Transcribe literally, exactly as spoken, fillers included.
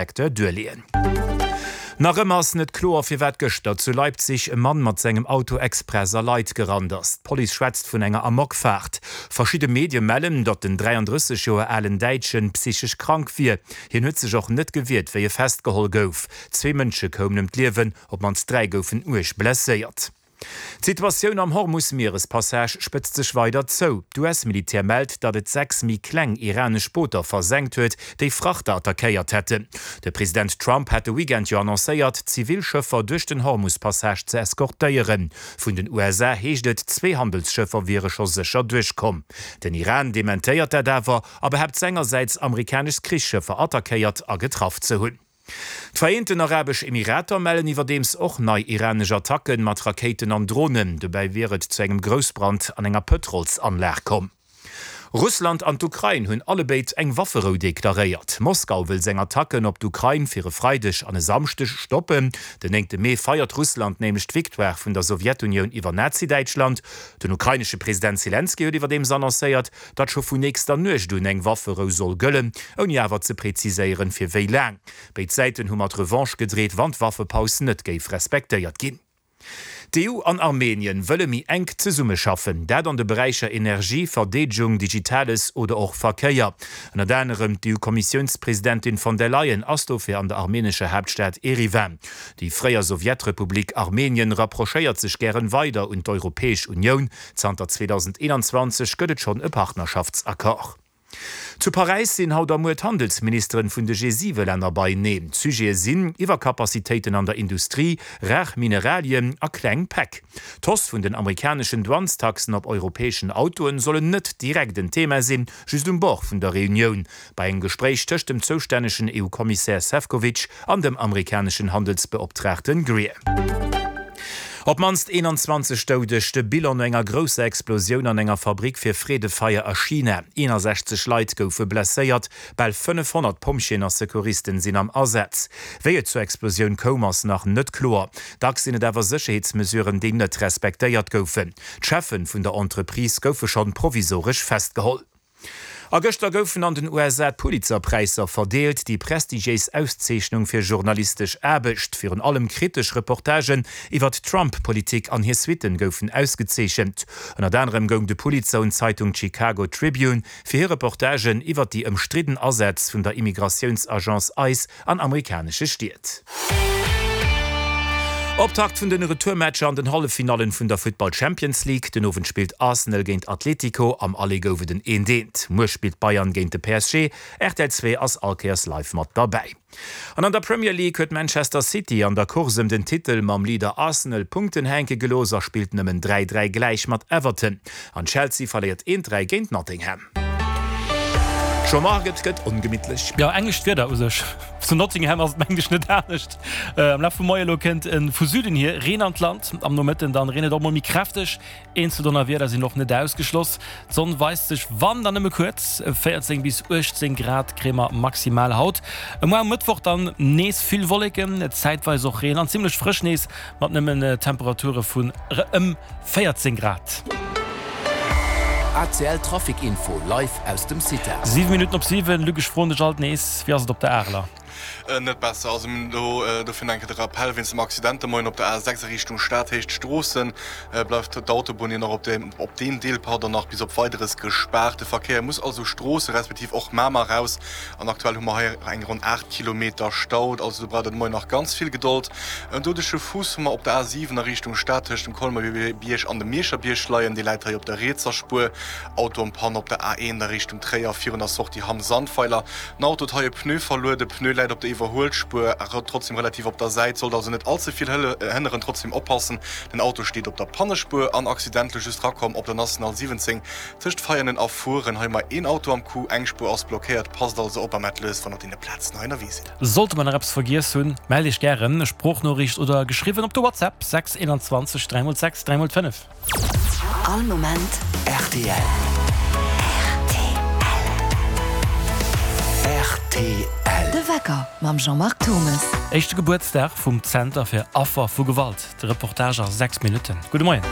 Secteur duerleeën. Nach ëmmer ass net kloer, firwat gëschter zu Leipzig e Mann mat sengem Auto express a Leit gerannt ass. D'Police schwätzt vun enger Amokfaart. Verschidde Medie mellen, datt den dräiandrësseg Joer alen Däitschen psychesch krank wier. Hien huet sech och net gewiert, wéi e festgeholl gouf. Zwee Mënsche koumen ëm d'Liewen, op d'mannst dräi goufen uerg blesséiert. D'Situatioun am Hormus-Mierespassage spëtzt sech weider zou. D'U S-Militär mellt, datt et sechs méi kleng iranesch Booter versenkt huet, déi Frachter attackéiert hätten. De President Trump hat de Weekend jo annoncéiert, zivil Schëffer duerch den Hormus-Passage ze eskortéieren. Vun den U S A heescht et, zwee Handelsschëffer wiere scho sécher duerchkomm. Den Iran dementéiert dat awer a behaapt sengersäits, amerikanesch Krichsschëffer attackéiert a getraff ze hunn. D'Vereenten Arabesch Emirater mellen iwwerdeems och nei iranesch Attacken mat Rakéiten an Dronen. Dobäi wier et zu engem Groussbrand an enger Pëtrolsanlag komm. Russland an d'Ukrain hunn allebéid eng Wafferou deklaréiert. Moskau wëll seng Attacken op d'Ukrain fir e Freideg an e Samschdeg stoppen. Den néngte Mee feiert Russland nämlech d'Victoire vun der Sowjetunioun iwwer Nazi-Däitschland. Den ukrainesche President Selenskyj huet iwwerdeems annoncéiert, datt scho vun nächster Nuecht un eng Wafferou soll gëllen, ouni awer ze preziséieren, fir wéi laang. Béid Säiten hu mat Revanche gedreet, wann d'Waffepaus net géif respektéiert ginn. D'E U an Armenien wëlle méi enk zesummeschaffen, dat an de Beräicher Energie, Verdeedegung, Digitales oder och Verkéier. Ënnert anerem d'E U-Kommissiounspresidentin von der Leyen ass dofir an der armenescher Haaptstad Eriwan. Déi fréier Sowjetrepublik Armenien rapprochéiert sech gären weider un d'Europäesch Unioun. Zanter zweedausendeenanzwanzeg gëtt et schonn e Partnerschaftsaccord. Zu Paräis sinn haut a muer d'Handelsministeren vun de G siwe Länner beieneen. Sujete sinn Iwwerkapazitéiten an der Industrie, rar Mineralien a kleng Päck. D'Hausse vun den amerikaneschen Douanestaxen op europäeschen Autoen sollen net direkt en Thema sinn, just um Bord vun der Reunioun. Bei engem Gespréich tëscht dem zoustännegen E U-Kommissär Sefcovic an dem amerikaneschen Handelsbeoptraagten Greer. Op d'mannst eenanzwanzeg Doudeg, de Bilan no enger grousser Explosioun an enger Fabrick fir Freedefeier a China. Eenasechzeg Leit goufe blesséiert, bal fënnefhonnert Pompjeeën a Secouristen sinn am Asaz. Wéi et zur Explosioun koum, ass nach net kloer. Dacks sinn et awer Sécherheetsmesuren, déi net respektéiert goufen. D'Cheffe vun der Entreprise goufe schonn provisoresch festgeholl. A gëschter goufen an den U S A d'Pulitzer-Präisser verdeelt, déi prestigiéis Auszeechnung fir journalistesch Aarbecht. Virun allem kritesch Reportagen iwwer d'Trump-Politik an hir Suitten goufen ausgezeechent. Ënnert anerem goung de Pulitzer un d'Zeitung Chicago Tribune fir hir Reportagen iwwer déi ëmstridden Asätz vun der Immigratiounsagence ICE an amerikanesche Stied. Optakt vun den Retourmatcher an den Halleffinallen vun der Futtball Champions League. Den Owend spillt Arsenal géint Atletico, am Aller gouf et en eent eent. Muer spillt Bayern géint de P S G. R T L zwee ass all Kéiers live mat derbäi. An an der Premier League huet Manchester City an der Course ëm den Titel mam Leader Arsenal Punkten hänke gelooss a spillt nëmmen dräi dräi gläich mat Everton. An Chelsea verléiert eent dräi géint Nottingham. Jean-Marc, et gëtt ongemittlech. Jo, englescht Wieder u sech. Zu Nottingham ass et mengen ech net anescht. Am Laf vum Moie lo kënnt vu Süden hier Reen an d'Land. Am Nomëtten dann reent et och mol méi kräfteg. Eenzel Donnerwieder sinn och net ausgeschloss. D'Sonn weist sech wann dann nëmme kuerz. véierzéng bis uechtzéng Grad kréie mer maximal haut. Muer um Mëttwoch dann nees vill Wolleken, zäitweis och Reen an zimmlech frësch nees mat nëmmen Temperature vun ëm véierzéng Grad. A C L Trafic Info live aus dem Cita. Siwe Minutten op siwen, Luc, ech froen dech alt nees, wéi ass et op der Areler? Net besser, also do dofir nach eng Kéier de Rappell, wéinst dem Accident de Moien op der A sechs a Richtung Stad, Héicht Stroossen, bleift d'Autobunn jo nach op deem op deem Deel, pardon, nach bis op Weideres gespaart. De Verkéier muss also Stroosse respektiv och Mamer raus an aktuell hu mer hei eng ronn aacht Kilometer Stau, also do braucht der de Moien nach ganz vill Gedold. En doudege Fuuss hu mer op der A siwen a Richtung Stad tëscht dem Colmer-Bierg an dem Mierscher Bierg leien, dee läit hei op der rietser Spuer. Auto en panne op der A eent a Richtung Tréier virun der Sortie Hamm-Sandweiler. Den Auto huet hei e Pneu verluer, de Pneu läit op der Iwwerhuelspuer, trotzdem relativ op der Säit, sollt also net all ze vill hënneren. Trotzdem oppassen, den Auto steet op der Pannespuer. An Accident lo just rakomm op der National siwwenzéng tëscht Veianen a Furen, hei mar een Auto am Coup, eng Spuer ass blockéiert. Passt also op a maacht lues, wann der op deene Plazen hei ënnerwee sidd. Sollte mer nach eppes vergiess hunn, mellt iech gären, Sproochnoriicht oder geschriwwen op de WhatsApp sechs eenanzwanzeg dräi mol sechs dräi mol fënnef. All Moment R T L. R T L. De Wecker mam Jean-Marc Thomes. Éischte Gebuertsdag vum Zenter fir Affer vu Gewalt. De Reportage a sechs Minutten. Gudde Moien.